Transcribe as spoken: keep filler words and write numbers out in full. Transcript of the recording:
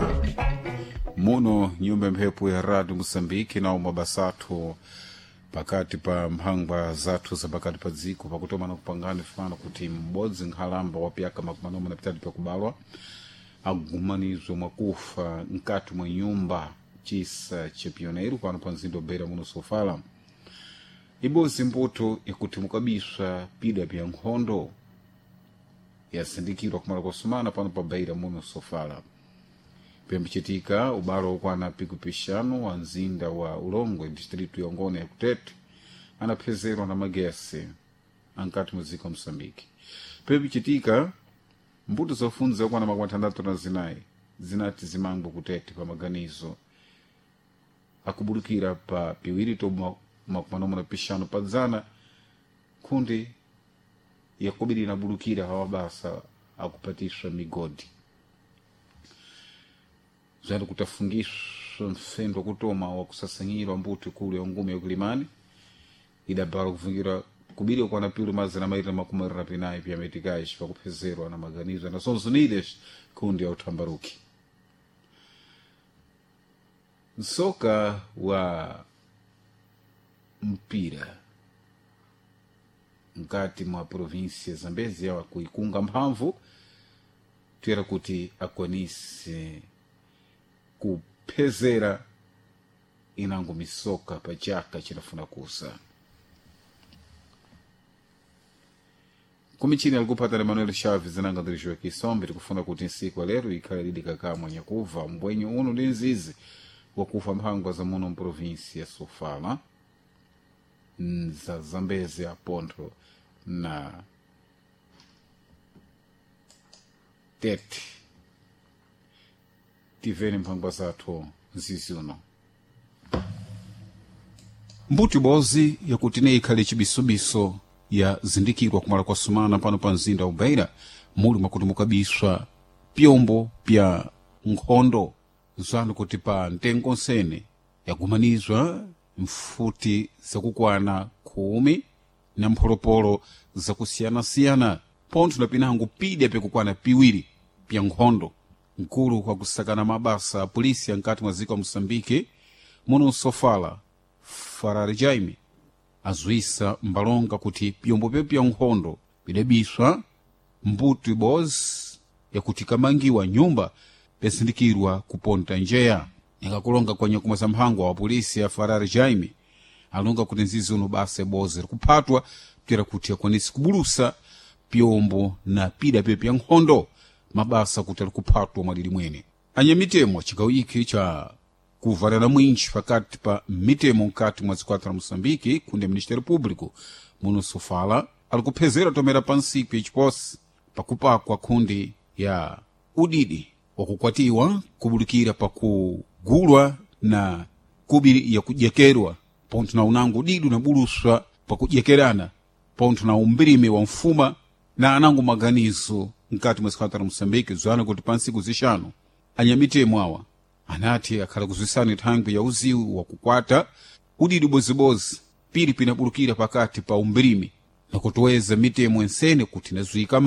Omvera muno nyumba mphepo ya radio Moçambique na umabasathu pakati pa mphangwa zathu za pakati pa dziko pakutomana kupangana fano kuti m'bodzi nkhalamba wa pyaka makumi anayi na pitatu pyakubalwa agumanizwe mwakufa mkati mwa nyumba chisa cha pioneiro pano pa mzinda wa muno sofala. Ibodzi mbuto ikuti mukabiswa pida pya nkhondo yasindikirwa kumala kwasumana pano pa Beira muno sofala. Pembichitika ubalo wokwana pikupixanu wa mzinda wa Ulongwe distritu ya Ngona ya Kutete anaphezerwa na magesi ankati muziko wa Moçambique. Pembichitika mbuto zofundza okwana makumi atandatu na zinayi zinati zimangwe kutete pa maganizo akubulukira pa piwiri to makumi anayi na pixanu pa dzana nkhundi yakobiri inabulukira hawa basa akupatiswa migodi zali kutafungiswa mfendo kutoma wakusasanyirwa mbuto ikulu ya ngume yakulimani idabala kufungira kubiri kwana pilu mazana mairi na makumi mairi na pinayi pya meticais pakuphezerwa na maganizo ya Nações Unidas kundi ya uthambaruki. Msoka wa mpira mkati mwa província ya Zambezia wakuikunga mphamvu tuyera kuti akwanise kuphezera inango misoka pa chaka chidafuna kusa. Kumichini alikupata Emmanuel Chaves nanga ndirijiwa kisombe tikufuna kuti nsiku ya lero ikhale lidi kakamwa nyakuva mbwenyu uno ndi nzizi wakufa mphangwa za muno mprovinsi ya Sofala za Zambezi Pontho na Tete. Tiveni mphangwa zathu nzizi uno mbuti bozi yakuti ne ikhale chibisubiso yazindikirwa kumala kwa sumana pano pa mzinda wa Beira muli mwakuti mukabiswa pyombo pya nkhondo zanu kuti pa ntengo nsene yagumanizwa mfuti zakukwana khumi na mpholopolo zakusiyanasiyana pontho na pinango pidya pyakukwana piwiri pya nkhondo. Mkulu kwa kusakana mabasa a polisi ankati mwa dziko la Moçambique muno Sofala Farari Jaime azwisa mbalonga kuti pyombo pye pya nkhondo bidabiswa mbuto ibodzi yakuti kamangiwa nyumba pyasindikirwa kuponta njeya. Ingakulonga kwa nyakumwa za mphangwa wa polisi ya Farari Jaime alonga kuti nzizi uno basa ibodzi likuphatwa pyera kuti akwanise kubulusa pyombo na pida pye pya nkhondo mabasa kuti alikuphatwa mwadidi mwene. Anyamitemo chigawo iki cha kuvalana mwinji pakati pa mitemo mkati mwa zikwata la Moçambique kundi ya Ministério Público muno Sofala alikuphezera tomera pa nsiku yachiposi pakupakwa kundi ya udidi wakukwatiwa kubulukira pakugulwa na kubiri yakujekerwa pontho na unango udidi unabuluswa pakujekerana pontho na umbirime wa mfuma na anango maganizo mkati mwa zikwata la Moçambique zwana kuti pa nsiku zixanu anyamitemo awa anati akhala kuzwisana thangwi ya uziwu wakukwata udidi bozibozi pili pinabulukira pakati pa umbirimi na kutoweza mitemo ensene kuti inazuika